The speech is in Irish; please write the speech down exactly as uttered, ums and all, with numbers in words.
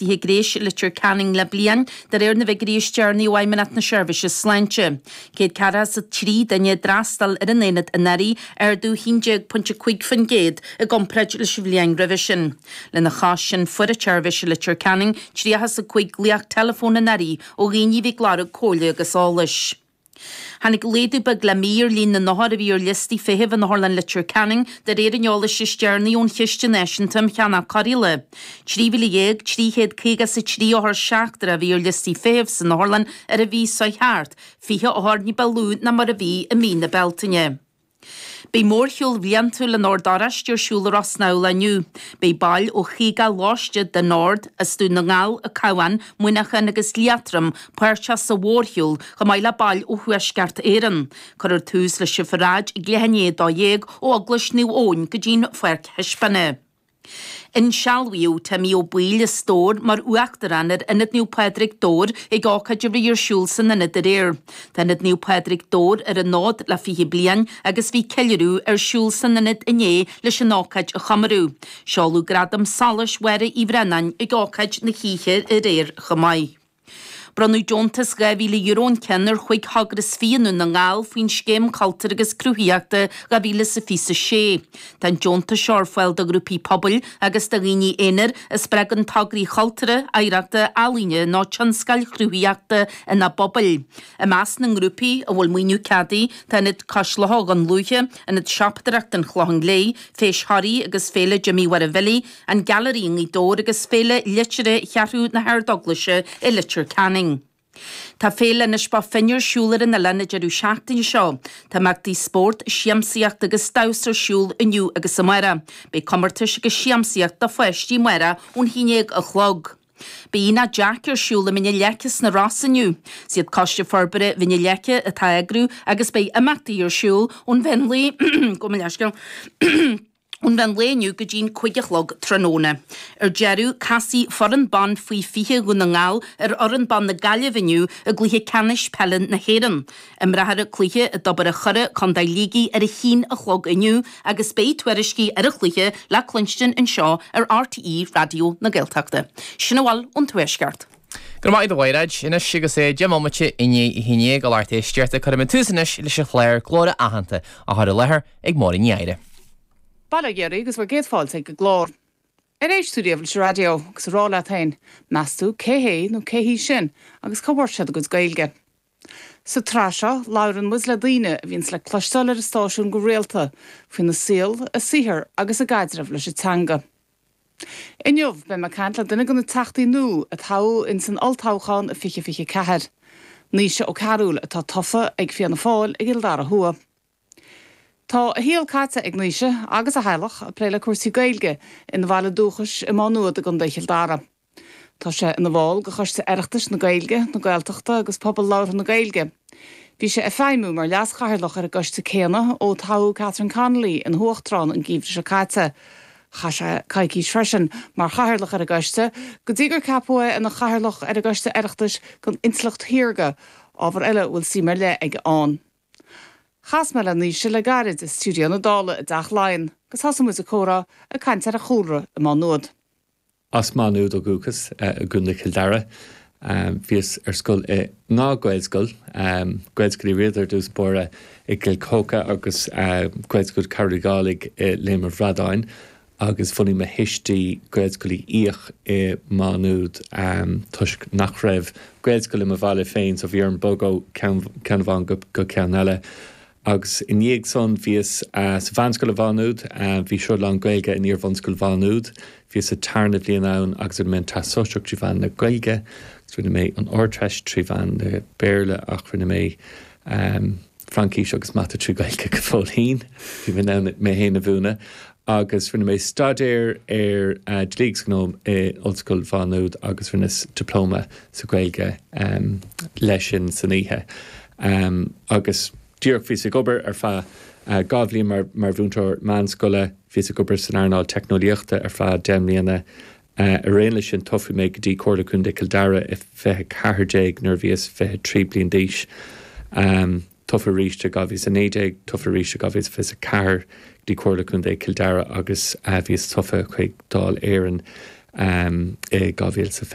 Gréis i Leitir Ceanainn le bliain, de réir na bhfigiúirí is deireanaí ó Fheidhmeannacht na Seirbhíse Sláinte. Céad ceathracha is a trí duine a d'fhreastail ar an aonad anuraidh, ardú haon déag pointe cúig faoin gcéad i gcomparáid leis an bhliain roimhe sin. Lena chois sin, fuair an tseirbhís i Leitir Ceanainn tríocha is a cúig glaoch teileafóin anuraidh ó dhaoine a bhí ag lorg comhairle agus eolais. Tháinig laghdú beag le mí ar líon na n-othar a bhí ar liostaí feithimh in Otharlann Leitir Ceanainn de réir an eolais is deireanaí ón Chiste Náisiúnta um Cheannach Cóireála. Trí mhíle dhéag trí chéad caoga is a trí othar seachtrach a bhí ar liostaí feithimh san otharlann ar an mhí seo thart, fiche othar ní ba lú ná mar a bhí i mí na Bealtaine. Beidh mórshiúl bhliantúil an Oird Oráistigh ar siúl i Ros na Mhíl inniu. Beidh baill ó chaoga lóiste den Ord, as Dún na nGall, An Cabhán, Muineachán agus Liatroim páirteach sa mhórshiúl, chomh maith le baill ó Thuaisceart Éireann. Cuirfear tús leis an pharáid ag leath i ndiaidh a dó dhéag ó Eaglais Naomh Eoin go dtí'n pháirc thaispeána. Insealbhaíodh Timmy Ó Baoill as Dobhar mar Uachtarán ar Ionad Naomh Pádraig Dobhar ag ócáid a bhí ar siúl san ionad aréir. Tá Ionad Naomh Pádraig Dobhar ar an fhód le fiche bliain agus bhí ceiliúradh ar siúl san ionad inné leis an ócáid a chomóradh. Seoladh Gradam Solais Mháire Uí Bhraonáin ag ócáid na hoíche aréir chomh maith. Bronnadh deontas dhá mhíle euro an ceann ar chúig thogra is fiche i nDún na nGall faoin Scéim Cultúir agus Cruthaitheachta dhá mhíle is a fiche a sé. Tá an deontas seo ar fáil do ghrúpaí pobail agus do dhaoine aonair a spreagann tograí cultúrtha, oidhreachta, ealaíne nó tionscail chruthaitheachta ina bpobail. I measc na ngrúpaí a bhfuil maoiniú ceadaithe tá Ionad Cois Locha Dhún Lúiche, Ionad Siopadóireachta an Chlocháin Léith, Feis Thoraí agus Féile Jimí Mháire Bhilí, An Gailearaí i nGaoth Dobhair agus Féile Liteartha Cheathrú na hArd-Eaglaise i Leitir Ceanainn. Tá Féile Inis Bó Finne ar siúl ar an oileán an deireadh seachtaine seo. Tá imeachtaí spóirt, siamsaíocht agus damhsa ar siúl inniu agus amárach. Beidh comórtais agus siamsaíocht do pháistí amárach ón haon déag a chlog. Beidh Aonach Jack ar siúl i Mín na Leice sna Rosa inniu. Is iad Coiste Forbartha Mhín na Leice atá á eagrú agus beidh imeachtaí ar siúl ón mheán lae gabh mo leithscéal ón mheán lae inniu go dtí'n cúig a chlog tráthnóna. Ar deireadh, casfaidh foireann ban faoi fiche Dhún na nGall ar fhoireann ban na Gaillimhe inniu i gcluiche ceannais peile na hÉireann. Imreofar an cluiche i dTobar an Choire, Contae Shligigh ar a haon a chlog inniu agus beidh tuairiscí ar an chluiche le cluinstin anseo ar RTÉ Raidió na Gaeltachta. Sin a bhfuil ón Tuaisceart. Go raibh maith agat a Mhairéad, anois agus é deich mbomaite i ndiaidh a haon déag a lucht éisteachta cuirfidh muid tús anois leis an chlár Glór Aitheanta á chur i láthair ag Máirín Ní Eadhra. Bail ó Dhia oraibh agus bhur gcéad fáilte ag an gclár. Ar éist tú riamh leis an raidió agus a rá leat féin, meas tú cé hé nó cé hí sin agus cá bhfuair siad a gcuid Gaeilge? Sa tsraith seo, labhrann muid le daoine a bhíonns le cloisteáil ar an stáisiún go rialta faoina saol, a saothar agus a gcaidreamh leis an teanga. Inniu, beidh mé ag caint le duine de na teachtaí nua a toghadh ins an olltoghchán i fiche fiche ceathair, Naoise Ó Cearúil atá tofa ag Fianna Fáil i gCill Dara Thuaidh. Tá a shaol caite ag Naoise agus a theaghlach ag plé le cúrsaí Gaeilge ina bhaile dúchais i Má Nuad i gContae Chill Dara. Tá sé ina bhall de Choiste Oireachtais na Gaeilge, na Gaeltachta agus Pobal Labhartha na Gaeilge. Bhí sé ag feidhmiú mar leas-chathaoirleach ar an gcoiste céanna ó toghadh Catherine Connolly ina huachtarán an geimhreadh seo caite. Chaith sé coicís freisin mar chathaoirleach ar an gcoiste go dtí gur ceapadh é ina chathaoirleach ar an gCoiste Oireachtais don Intleacht Shaorga, ábhar eile a bhfuil suim ar leith aige ann. Chas mé le Naoise le gairid i stiúideo na Dála i dTeach Laighean agus thosaigh muid ag comhrá ag caint ar a chúlra i Má Nuad. As Má Nuad ó dhúchas i gContae Chill Dara. Bhíos ar scoil i ndhá Ghaelscoil, Gaelscoil Uí Riada ar dtús báire i gCill Chóca agus Gaelscoil Chathair Uí Dhálaigh i Léim an Bhradáin. agus bhunaigh mo thuistí Gaelscoil Uí Fhiaich i Má Nuad toisc nach raibh Gaelscoil i mo bhaile féin so bhí orm bogadh ó cheann amháin go ceann eile. Agus i ndiaidh san bhíos sa mheánscoil i Mhá Nuad, bhí sruth lán Gaeilge in iar-bhunscoil Mhá Nuad, bhíos sa tarna bhliain ann agus rinne mé an Teastas Sóisearach trí mheán na Gaeilge agus rinne mé an Ardteist trí mheán na Béarla ach rinne mé Fraincis agus Mata trí Ghaeilge go fóillín, bhí mé in ann mé féin a mhúineadh agus rinne mé staidéar ar Dlí agus Gnó i Ollscoil Mhá Nuad agus rinneas Dioplóma sa Ghaeilge leis sin san oíche. Agus díreach bhíos ag obair ar feadh dhá bhliain mar mar mhúinteoir meánscoile, bhíos ag obair san earnáil teicneolaíochta ar feadh deich mbliana. Ar aon leis sin toghadh mé go dtí Comhairle Contae Chill Dara i fiche ceathair déag nuair a bhíos fiche trí bliain d'aois. Tofa arís i dhá mhíle is a naoi déag, tofa arís i dhá mhíle is fiche a ceathair go dtí Comhairle Contae Chill Dara agus bhíos tofa chuig Dáil Éireann um, i dhá mhíle sa